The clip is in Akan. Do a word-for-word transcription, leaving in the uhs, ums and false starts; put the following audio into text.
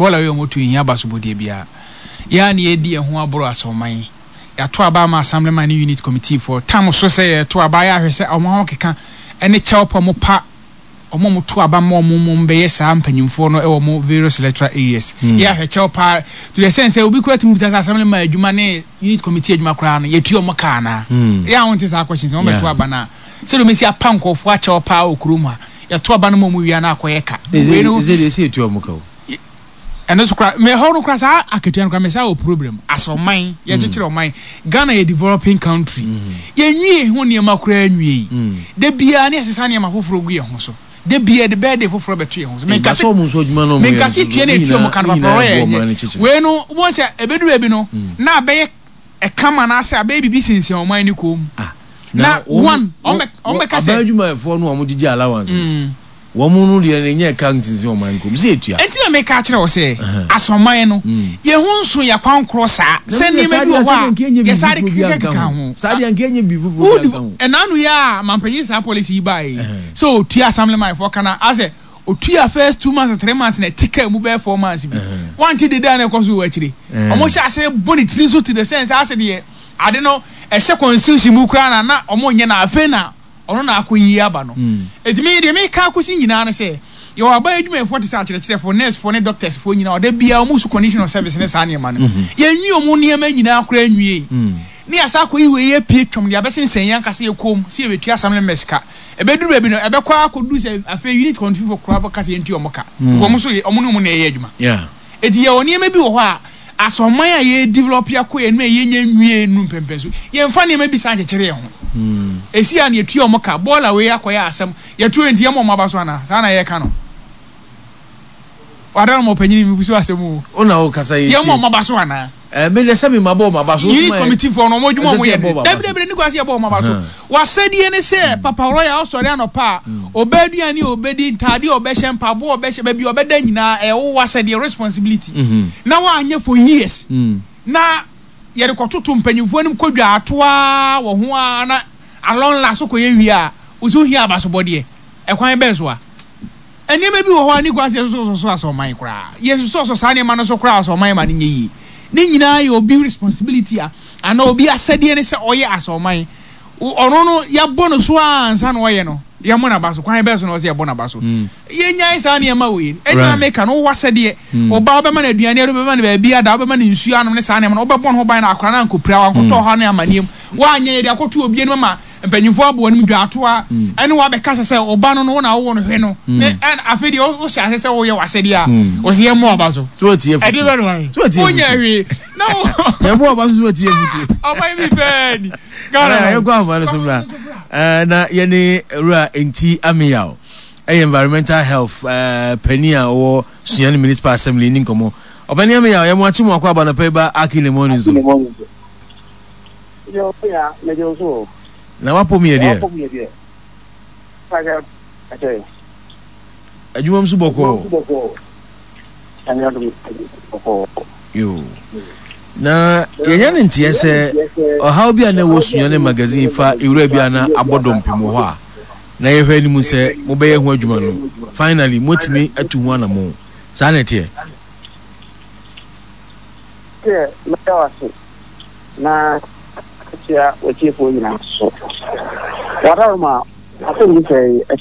Bɔɔla wei a wɔtu nhia abasobɔdeɛ biara. Yɛn a na yɛdi yɛn ho aboro asɔman. Yɛato aba ama assemblyman ne unit committee foɔ. Tam so sɛ yɛto aba yɛ ahwɛ sɛ wɔn ahokeka ne kyɛw pa wɔn pa wɔn a wɔto aba ma wɔn wɔn bɛyɛ saa mpanyinfoɔ no wɔ wɔn various electoral areas. Hmm. Yɛ ahwɛ kyɛw paa to the extent sɛ obi kura tumi bisa sɛ assemblyman adwuma ne unit committee adwuma koraa no yɛtua wɔn ka anaa. Hmm. Yɛ a wɔn te saa questions wɔn bɛto Yeah. aba no a sɛdeɛ wɔn asi apa nkurɔfoɔ akyɛw paa wɔ kurom ha, yɛto aba no ma wɔn wia na akɔyɛ ka. Wei no ɛsɛ deɛ ɛsɛ yɛtua wɔn ka o. Ɛno so kora mɛ hɔ no kora saa akatua no kora mɛ saa wɔ problem as ɔman yɛkyekyere ɔman. Ghana yɛ developing country, yɛnwie ho nneɛma koraa nwie yi, da biara ne yɛsesa nneɛma foforɔ gu yɛn ho so, da biara de bɛɛde foforɔ bɛto yɛn ho so. Menkase ɔmo nso adwuma no ɔmo yɛ menkase nso tua na ne etua nyinaa mu ka no ne papa nyinaa ɔyɛ ɛboa ɔman no ɛnyɛ kyekyere. Wei no wɔn sɛ ebedu baabi no na abɛyɛ ɛkama anaasɛ abɛyɛ biribi sensɛn ɔman no kɔn mu. Ah, na wɔn- one wɔn- ɔmbɛ ɔmbɛka sɛ aban adwumayɛfoɔ no a wɔn gyegye allowance no, wɔn no deɛ ne nyɛ ka ntinsin ɔman kɔn mu sɛ etua. Enti na meka akyerɛ wo sɛ Ɛhɛn. asɔman no Mm. yɛn ho nso yɛ kwankorɔ saa sɛ nneɛma bi wɔ hɔ a yɛsare kekakeka ho. Saa deɛ nka enye biribi foforɔ bi anka ho. Ɛnanu yɛ a mampanyin saa policy yi baa yi Ɛhɛn. sɛ otua assemblyman foɔ kana asɛ otua first two months, three months na ɛti kaa mu bɛyɛ four months bi Ɛhɛn. wante dede a na ɛkɔ so wɔ akyire. Ɛhɛn. Ɔmo hyɛ ase bɔ ne tiri so to the sense ase deɛ ade no ɛhyɛ constitution mu koraa na na ɔmo nyɛ na afei na ɔno na akɔ yie aba no. Mm. Etumi deɛ meka akɔsi nyinaa no sɛ yɛwɔ aban adwumayɛfoɔ te sɛ akyerɛkyerɛfoɔ, nursefoɔ ne doctorsfoɔ nyinaa, ɔda biara ɔmo so condition of service ne saa nneɛma no, yɛnwie ɔmo nneɛma nyinaa koraa nwie Mm. ne yɛasa akɔyi wei apue twam de abɛsensɛn yɛn ankasa yɛ kom sɛ yɛbɛtua assembly members ka. Ɛbɛduru baabi no ɛbɛkɔ akɔduru sɛ afei unit committee foɔ koraa bɛka sɛ yɛntua ɔmo ka. Wɔn nso yɛ- ɔmo ne ɔmo na ɛyɛ adwuma. Yeah. Eti yɛwɔ nneɛma bi wɔ hɔ a asɔman a yɛ develop akɔ yɛn no a yɛnyɛ nwie nu mpɛmpɛn so, yɛmfa nneɛma bi saa nkyekyere yɛn ho. Mm. Esi a na yɛtua ɔmo ka bɔɔla wei akɔyɛ asɛm yɛtu nti yɛmɔ ɔmo aba so ana saa na yɛka no wada no ɔpanyin mi busu asɛm o. O na o kasa yɛ. Yɛmɔ ɔmo aba so ana? Ɛɛ mi de sɛ mi ma bɔ ɔmo aba so. Unit committee foɔ no, ɔmo adwuma Ɛsɛ ɔmo sɛ yɛ yɛbɔ ɔmo aba dabi so. Dabi ne kwasi yɛbɔ ɔmo aba so. Mhm. Wasɛdeɛ ne sɛ Papa Royal ɔsɔre anɔpa a ɔbɛ aduane a ɔbɛdi, ntaade a ɔbɛhyɛ, mpaboa a ɔbɛhyɛ, baabi a ɔbɛda nyinaa ɛyɛ wo wasɛdeɛ, responsibility. Mhm. Na wanyɛ for years Mm. na yɛde kɔtoto mpanyinfoɔ anim kɔdwa atoa wɔ ho a na alɔnla so kɔyɛ wie a wosi ohia abasobɔdeɛ ɛkwan bɛn so a nneɛma bi wɔ hɔ a ne kwan sɛ yɛsosɔ so asɔman koraa, yɛsosɔ so saa nneɛma no so koraa asɔman ma no nyɛ yie. Ne nyinaa yɛ obi responsibility a anaa obi asɛdeɛ ne sɛ ɔyɛ asɔman. Wo- ɔno no yɛabɔ no so a ansa na ɔyɛ no yɛmmɔ n'aba so. Kwan bɛɛ so na ɔsɛ yɛbɔ n'aba so? Mm. Yɛnyae saa nneɛma wei ɛnyɛ Right. meka no wowɔ asɛdeɛ. Mm. Ɔba wobɛma no aduane ade, wobɛma no baabi ada, wobɛma no nsuo anom ne saa nneɛma no, wobɛbɔ ne ho ban na akora no ankɔpira wankɔtɔ ɔhaw ne amanneɛm. Woanyɛ yɛde akɔto obi anim ama mpanyimfoɔ abɔ anim dwaatoa ɛne woabɛka sɛ sɛ ɔba no no wo na wowɔ no hwɛ no ne ɛn afei deɛ wo- wohyɛ ase sɛ woyɛ w'asɛdeɛ a Mm. wɔsɛ yɛmmɔ aba so. So o tie futu. Ɛde bɛ no ayɛ So o tie wonyɛ futu. hwee na wo Yɛn bɔ ɔba so so o tie futu. Ɔman bi pɛɛ ni. Ghana yɛn kɔ ahoma no so mra. Ɛɛ na yɛne Wura Nti Amiyaw ɛyɛ environmental health ɛɛ panyin a ɔwɔ Sunyani Municipal Assembly ni nkɔmɔ. Ɔpanyin Amiyaw, yɛn mo akyi mu akɔ aba nɔpɛ yi ba Aki in the Morning so. Yo, ya, mede wo so. Na wapɔ mu yɛ deɛ. Paka, ate. Adwuma mu so bɔkɔɔ. Nyame adom, bɔkɔɔ. Yo. Na yɛnya ne nteɛ sɛ ɔhaw bi a na ɛwɔ Sunyani magazine fa ewura bi a na abɔ dɔmpem wɔ hɔ a na yɛhwɛ anim sɛ mobɛyɛ ho adwuma no, finally moatumi atu ho anammɔn. Saa na ɛteɛ? Sɛ mɛda wo ase na akyia w'atiefoɔ nyinaa so. Wadaroma asɛm bi sɛ ɛte